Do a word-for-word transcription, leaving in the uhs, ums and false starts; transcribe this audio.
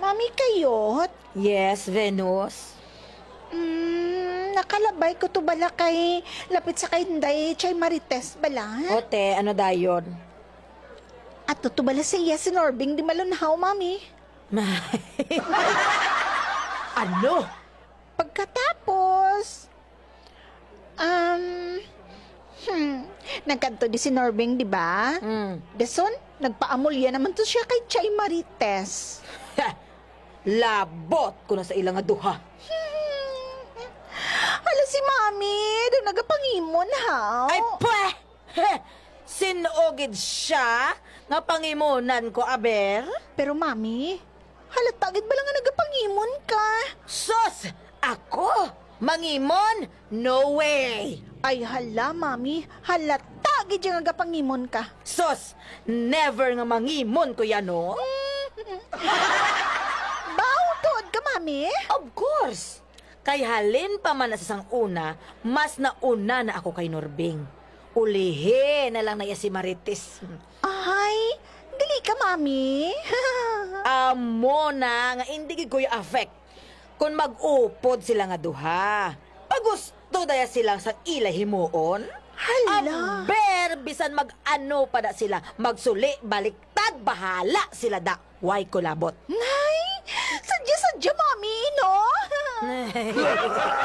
Mami, kayot? Yes, Venus. Mm, nakalabay ko to bala kay lapit sa kay Inday Chay Marites bala. Ote, ano dayon? Ato to bala sa iya si Norbing di malunhaw, Mami. Ano? Pagkatapos, um, hmm, nagkadto di si Norbing, di ba? Mm. Dason, nagpaamulya naman to siya kay Chay Marites. Labot ko na sa ila nga duha. Hmm. Hala si Mami, daw nagapangimon, ha? Ay, pweh! Sin-o gid siya nga pangimunan ko, aber? Pero, Mami, halata gid bala nga nagapangimon ka? Sus! Ako? Mangimon? No way! Ay, hala, Mami, halata gid siya nga gapangimon ka. Sus! Never nga mangimon ko yan, no? Baw, tuod ka, Mami? Of course! Kay halin pa man na sa sang una, mas nauna na ako kay Norbing. Ulihi na lang na iya si Marites. Ay, dili ka, Mami. Amo na nga indi gid ko ya-affect. Kon mag-upod sila nga duha, pagusto daya sila sa ila himuon. Hala. Aber, bisan mag-ano pa da sila, magsuli, baliktad, bahala sila da. Way ko labot. Nay, sadya-sadya, Mami, no?